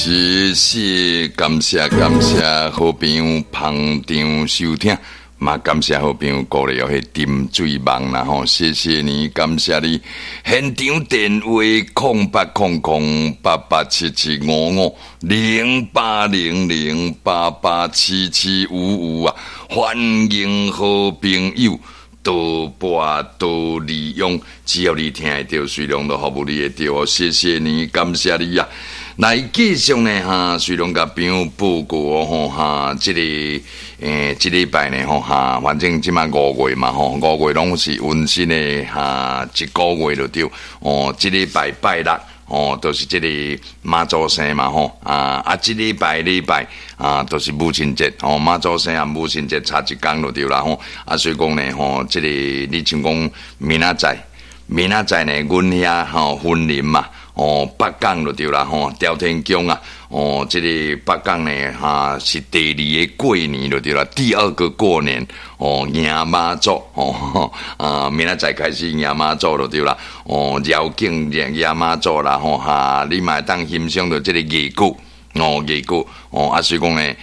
謝謝，感謝感謝好朋友捧場收聽，嘛感謝好朋友鼓勵哦，彼沉水夢啦吼，謝謝你，感謝你。現場電話0800887755，0800887755啊，歡迎好朋友多撥多利用，只要你聽會著，隨量都服務你會著哦。謝謝你，感謝你啊！來繼續呢，哈，隨量共朋友報告哦，吼哈，這个這禮拜呢，吼哈，反正這馬五月嘛，吼，五月攏是溫馨的哈，一個月就對，哦，這禮拜拜六。哦，就是這个媽祖生嘛，吼啊啊！這禮拜禮拜啊，就是母親節，哦，媽祖生和母親節差一工就對啦，吼啊，所以講呢，吼，這个你像講明仔載，明仔載呢，阮遐吼雲林嘛，哦，北港就對啦，吼，朝天宮啊，哦，這个北港呢，哈是第二個過年就對啦，第二個過年，哦，迎媽祖，哦，啊，明仔載開始迎媽祖就對啦，哦，繞境迎迎媽祖啦，吼哈，你嘛會當欣賞著這个藝鼓，哦，藝鼓，哦，啊，所以講呢，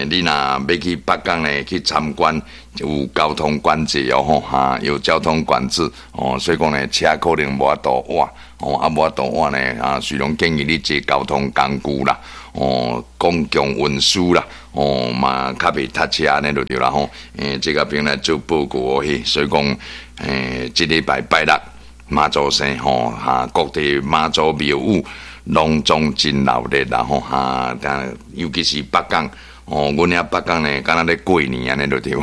你若欲去北港呢去參觀，有交通管制哦，吼哈，有交通管制，哦，所以講呢，車可能無法度倚，哦，啊，無法度倚呢，啊，雖然建議你坐交通工具啦，哦，公共運輸啦，哦，嘛較袂塞車按呢就對啦吼。這个朋友來做報告哦，嘿，所以講，這禮拜拜六媽祖生吼，哈，各地媽祖廟宇攏總真鬧熱啦吼，哈，尤其是北港，哦，阮遐北港呢，敢若咧過年按呢就對，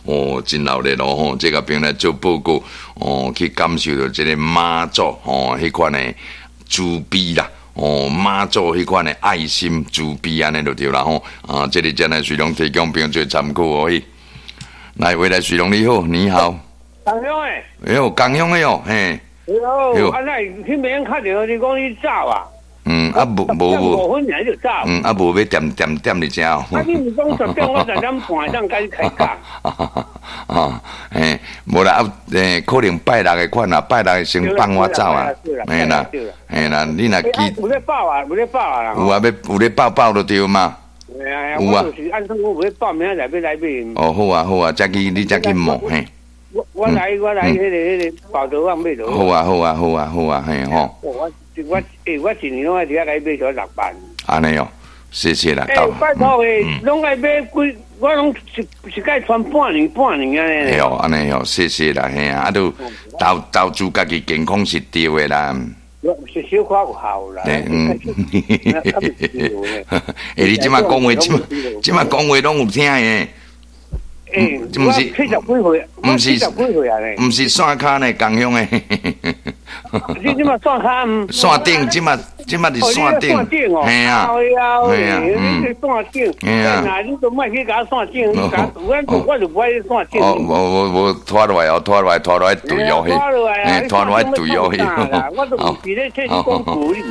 哦，真鬧熱咯吼，這个朋友來做報告，哦，去感受著這个媽祖吼，彼款的慈悲啦。哦，媽祖彼款的愛心慈悲按呢就對啦吼，啊，這个真來隨量提供朋友做參考哦。嘿，來，未來隨量你好，你好。江鄉的。哎喲，江鄉的哦，嘿。哎喲，啊，那彼邊較著你講你走啊？嗯，啊，無無無。 5分爾就走。嗯，啊，無欲恬恬恬佇遮哦。啊，你毋講10點，我10點半當開始開講。啊，嘿，無啦，啊，可能拜六的款啦，拜六先放我走啊，嘿啦，嘿啦，你若記。有咧報啊，有咧報啊。有啊，欲有咧報報就對嘛。有啊。就是按算我有咧報，明仔載欲來買。哦，好啊，好啊，才去你才去問嘿。我來彼个寶德網買著。好啊，好啊，好啊，好啊，嘿吼。我一年攏愛佇遐共伊買著6萬。按呢哦，謝謝啦。欸，拜託的，攏愛買幾，我攏一一擺穿半年半年按呢。嘿哦，按呢哦，謝謝啦，嘿啊，啊都投資家己健康是對的啦。是小可有效啦。嗯。欸，你這馬講話，這馬這馬講話攏有聽的。欸，毋是七十幾歲，毋是七十幾歲啊呢？毋是線跤呢，共鄉的。你這馬線跤毋？線頂，這馬這馬佇線頂。哦，嘿啊，嘿啊，你這線頂，嘿啊，那你都莫去共我線頂，你共我我就無愛線頂。哦，無無無，拖落來哦，拖落來，拖落來對哦，嘿，拖落來對哦，嘿。我都毋是咧替你講道理。